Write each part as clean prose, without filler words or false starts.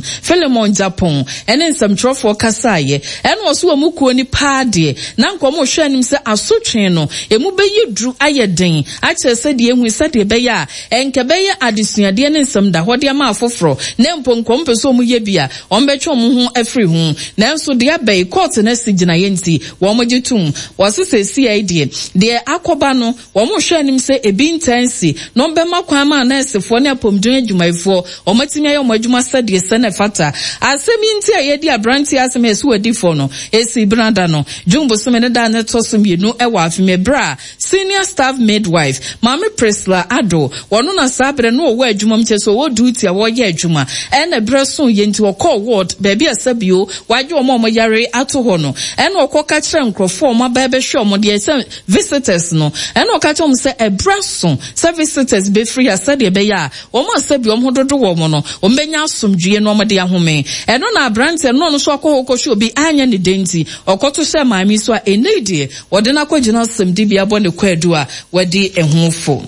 Chairperson Philemon Gyapong ne nsɛmtwerɛfoɔ kasaeɛ. Ɛna ɔse wɔn kuo no paa deɛ na anka wɔrehwɛ anim sɛ asotwee no ɛmu bɛyɛ duru ayɛ den akyerɛ sɛdeɛ ɛhui sɛdeɛ ɛbɛyɛ a ɛnka ɛbɛyɛ adesuadeɛ ne nsɛmdahɔ de ama afoforɔ na mpo nka wɔpɛ sɛ wɔyɛ bi a wɔbɛtwe wɔn ho afiri ho. Nanso deɛ aba yi kɔɔte no asi gyinaeɛ nti wɔgye tom. Wɔse seesei deɛ deɛ akɔba no Wɔrehwɛ anim sɛ ebi ntaa nsi na wɔbɛma kwan ama anɛɛsefoɔ ne apɔmuden adwumayɛfoɔ wɔatumi ayɛ wɔn adwuma sɛdeɛ ɛsɛ na ɛfata. Asɛm yi nti a yɛadi aberanteɛ asɛm a yɛse wadi fɔ no, ɛsii Benada no, June bosome ne da a na ɛtɔ so mmienu wɔ afe mu ɛberɛ a Senior Staff Midwife, Maame Priscilla Addo, ɔno na saa berɛ no ɔwɔ adwuma mu kyerɛ sɛ ɔwɔ duty a ɔreyɛ adwuma ɛna berɛ soeɛ nti ɔkɔɔ ward baabi a sɛbio wɔagye wɔn a wɔyare ato hɔ no ɛna ɔkɔka kyerɛɛ nkorɔfoɔ a wɔaba rebɛhwɛ wɔn deɛ sɛ visitors no, ɛna ɔka kyerɛ wɔn sɛ ɛberɛ aso sɛ visitors bɛfiri ha sɛdeɛ ɛbɛyɛ a wɔn a sɛbi wɔn ho dodo wɔn no, wɔbɛnya asomdwoeɛ na wɔde ahome. Ɛno na aberanteɛ no na ɔno nso akɔ hɔ kɔhwɛ obi anyɛ ne dɛ nti, ɔkɔto hyɛɛ maame yi so a ɛnnɛ yi deɛ wɔde no akɔgyina asɛmdibea abɔ ne kwaadu a wadi ho fɔ.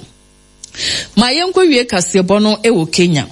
Ma yɛnkɔwie kaseɛbɔ no wɔ Kenya.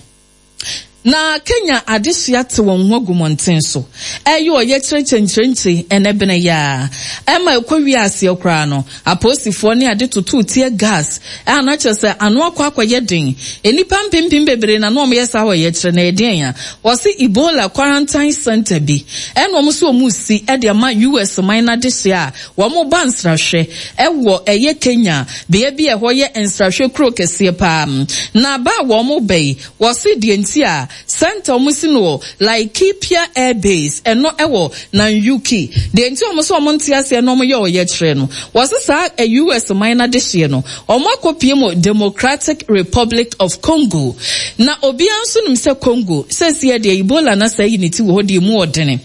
Na Kenya adehye ate wɔn ho agu mmɔnten so reyɛ ɔyɛkyerɛ kyɛnkyerɛnkyire ɛnɛ bene yi ara. Ɛma ɛkɔ wie aseɛ koraa no, apolisifoɔ ne ade totoo tear gas a na kyerɛ sɛ ano akɔ akɔyɛ den. Nnipa mpempem bebree na na wɔyɛ saa ɔyɛkyerɛ no. Ɛyɛ deɛn a? Wɔse Ebola quarantine centre bi ɛna wɔn nso wɔn resi de ama US man no adehye a wɔba nsrahwɛ wɔ ɛyɛ Kenya bea bi a ɛhɔ yɛ nsrahwɛ kuro kɛseɛ paa. Na ba a wɔn ba yi, wɔse deɛ nti a centre wɔn si no wɔ Laikipia Air Base, ɛno ɛwɔ Nanyuki. Deɛ nti a wɔn se wɔn nte aseɛ na wɔn yɛ ɔyɛkyerɛ no, wɔse saa US man no adehyeɛ no, wɔn akɔ pie mu Democratic Republic of Congo. Na obiara nso nim sɛ Congo, seesei deɛ Ebola no asɛe ne ti wɔ hɔ deɛ emu ɔdene.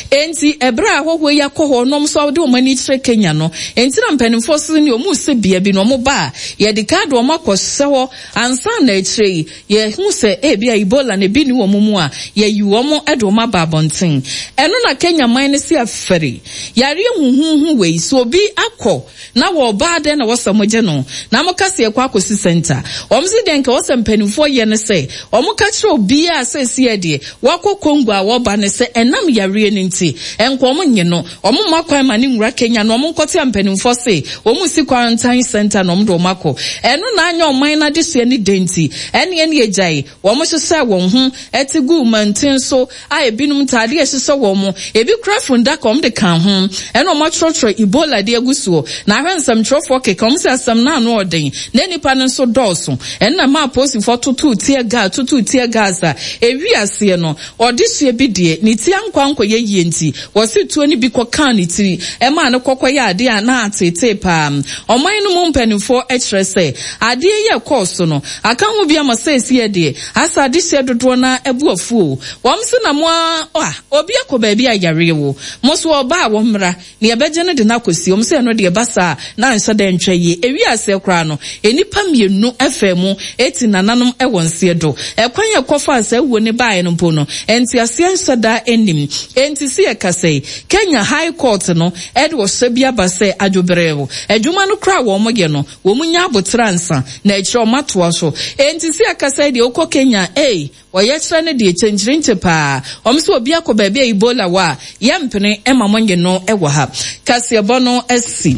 Enti, ɛberɛ a ahɔhoɔ yi akɔ hɔ na wɔn nso de wɔn ani kyerɛ Kenya no, enti na mpanimfoɔ so ne wɔn resi bea bi na wɔba a, yɛde kan de wɔn akɔhyɛ hɔ ansa na akyire yi yɛhu sɛ ebia Ebola no ebi nni wɔn mu a, yɛayi wɔn de wɔn aba abɔnten. Ɛno na Kenya man no se afɛre yareɛ huhuuhu wei, sɛ obi akɔ Na wɔ ɔbaa dɛn na wɔsɛ mo gye no na mo ka sɛ yɛkɔ akɔsi sɛnta? Wɔn se deɛ nka wɔsɛ mpaninfoɔ yɛ ne sɛ wɔn ka kyerɛ obiara sɛ seɛ deɛ wakɔ Congo a wɔba ne sɛ ɛnam yareɛ no nti nka wɔn nye no wɔn mma kwan ma no nwura Kenya na wɔn nkɔte a mpaninfoɔ se wɔn si quarantine center na wɔn de wɔn akɔ ɛno na anyɛ ɔman no adesua ne dɛn nti ɛneɛ ne yɛgyae wɔn hyehyɛɛ wɔn ho te guu manten so a ebinom ntaade a ɛhyehyɛ wɔn, ebi kura fundaka a wɔde ka ho, ɛna wɔatwerɛtwerɛ Ebola de agu soɔ. Na ahwɛ nsɛmtwerɛfoɔ keka, wɔn sɛ asɛm no ano ɔden, na nnipa no nso dɔɔso. Ɛno na ɛmaa apolisifoɔ totoo tear gas, totoo tear gas a ɛwii aseɛ no, ɔdehyeɛ bi deɛ, ne ti ankɔ ankɔyɛ yie nti, wɔse tuo no bi kɔkaa ne tiri, ɛmaa no kɔkɔyɛɛ adeɛ a na ateetee paa. Ɔman no mu mpanimfoɔ kyerɛ sɛ, adeɛ yi a ɛkɔɔ so no, aka ho bi ama seesei deɛ, Asa adehyeɛ dodoɔ no ara abu afu o. Wɔn se na mo ara a, obi akɔ baabi a yareɛ wɔ. Mo nso ɔba a wɔmmra, na yɛbɛgye no de no akɔsie. Wɔn se ɛno deɛ ɛba saa a, na anhyɛ da antwa yie. Ɛwiee aseɛ koraa no, nnipa mmienu faa mu ti nananom wɔ nseɛ do. Ɛkwan a ɛkɔfaa saa wuo no baeɛ no mpo no, nteaseɛ nhyɛ da nnim. Enti se yɛkasa yi, Kenya High Court no de ɔhyɛ bi aba sɛ adwobrɛw adwuma no koraa a wɔyɛ no, Wɔn nya aboterɛ ansa na akyire wɔn atoa so. Enti se akasa yi deɛ wokɔ Kenya a, ei, ɔyɛkyerɛ no deɛ kyenkyerenkye paa. Wɔn se obi akɔ baabi a Ebola wɔ a, yɛmpene mma mo nye no wɔ ha. Kaseɛbɔ no asi.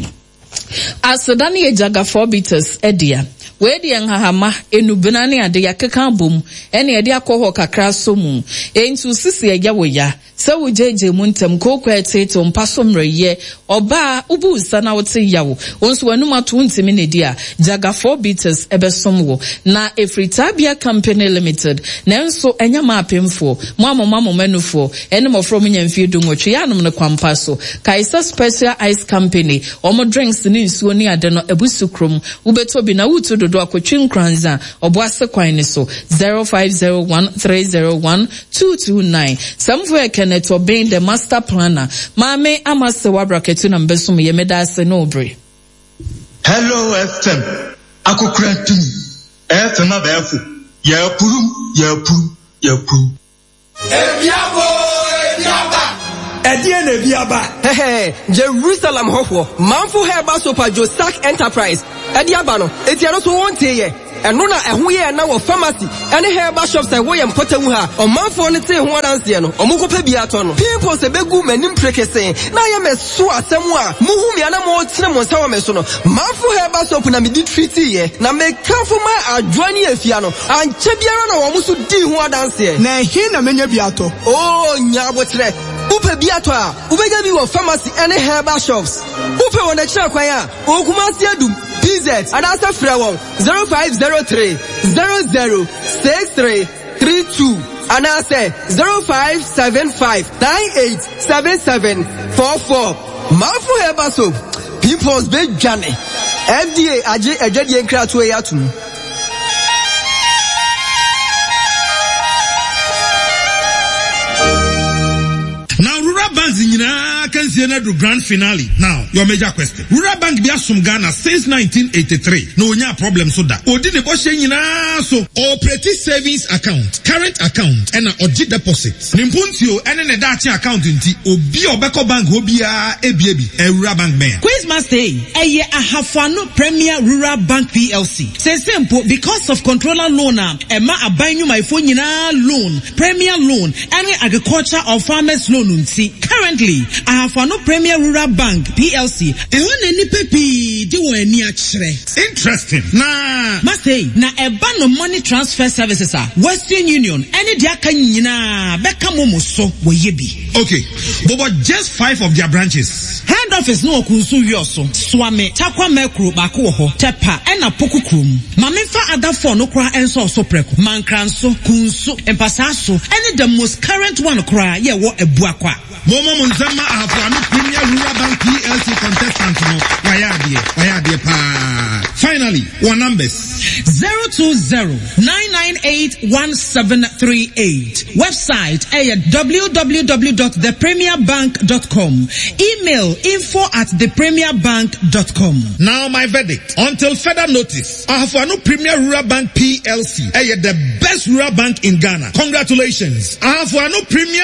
Aseda no yɛ Jagafoɔ Bitters dea. Wei deɛ nhahama, nnubena ne ade yɛakeka abom ɛna yɛde akɔ hɔ kakra asɔ mu. Enti wo sisi ɛyɛ wo ya. Sɛ wogyaagyaa mu ntɛm, kooko a ɛteetew, mpa so mmerɛwyɛ, ɔbaa a wobu wo nsa na wote yaw, wo nso w'anom ato wontumi nnidi a, Jagafour Bitters bɛsom wo. Na ɛfiri Tabia Company Limited, nanso ɛnyɛ mmaa apemfoɔ, mo a moma mo mma nufoɔ, ɛne mmɔfra a wɔnya mfeɛ dunwɔtwe, yɛ anom no kwampa so. Kae sɛ Special Ice Company, wɔn drinks ne nsuo ne ade no abu so kurom. Wobɛtɔ bi na woretu dodoɔ akɔtwi Nkoranza, Ɔboase kwan no so, 0501 301 229. Sɛmfo yɛ Kenneth Obeng the master planner. Maame Ama Sewa Brakatu na mebɛsom yɛ. Meda ase ne wo bere. Hello FM akokora tumi FM abɛɛfo yɛapurum yɛapurum yɛapurum. Ebi aba oo, ebi aba. Ɛdeɛn na ebi aba? Hɛhɛ, Jerusalem hɔfoɔ, Manfo Herbal Soap a Josak Enterprise de aba no, enti ɛno nso wontee yɛ? Ɛno na ɛho yɛɛ na wɔ pharmacy ne herbal shops a ɛwɔ yɛn mpɔtam ha. Ɔmanfoɔ no tee ho adanseɛ no, wɔkɔpɛ bi atɔ no. Pimples bɛgu m'anim prekesee na ayɛ me so asɛm a mohu me a na motene mo nsa wɔ me so no. Manfo herbal soap na mede treatiiɛ, na mekamfo maa Adwoa ne Afia no. Ankyɛ biara na wɔn nso dii ho adanseɛ. Na ɛhe na menya bi atɔ? Oo, nya aboterɛ. Wopɛ bi atɔ a, wobɛnya bi wɔ pharmacy ne herbal shops. Wopɛ wɔn akyiri kwan a, wɔ Kumasi Adum, PZ, anaasɛ frɛ wɔn 0503 00 63 32 anaasɛ 0575 98 77 44. Manfo Herbal Soap, pimples bɛdwane. FDA agye adwadie nkratoɔ yi atom. Now rural banks nyinaa akansie no adu grand finale. Now your major question. Rural bank bi asom Ghana since 1983 na onyaa problem so da. Odi ne bɔhyɛ nyinaa so. Ɔoperate savings account, current account ɛna ɔgye deposit. Ne mpuntuo ɛne ne daakye account nti obi a ɔbɛkɔ bank hɔ biara ebie bi. Ɛyɛ rural bank bɛn a? Quiz master ei, ɛyɛ Ahafo Ano Premier Rural Bank PLC. Seesei mpo because of controller loan a ɛma aban nnwumayɛfoɔ nyinaa loan, Premier Loan, ɛne Agriculture or Farmers Loan nti, currently Ahafo Ano Premier Rural Bank PLC, Ɛhɔ na nnipa pii de wɔn ani akyerɛ. Interesting na. Master, na ɛba no money transfer services a, Western Union ɛne deɛ aka nyinaa bɛka momo so wɔyɛ bi. Okay, bobɔ just five of their branches. Head office no wɔ Kunsu Wiɔso, Suame, Tarkwa Mɛkuro baako wɔ hɔ, Tɛpa ɛna Poku kurom. Ma menfa other four no koraa nsɔɔ so prɛko, Mankranso, Kunsu, Mpasaaso ɛne the most current one koraa yɛ ɛwɔ Abuakwa. Mommɔ mo nsam ma Ahafo Ano Premier Rural Bank PLC contestant no, wayɛ adeɛ, wayɛ adeɛ paa. Finally, wɔn numbers. 020 998 1738. Website ɛyɛ www dot thepremierbank dot com. Email info at thepremierbank dot com. Now my verdict, until further notice, Ahafo Ano Premier Rural Bank PLC ɛyɛ the best rural bank in Ghana. Congratulations, Ahafo Ano Premier.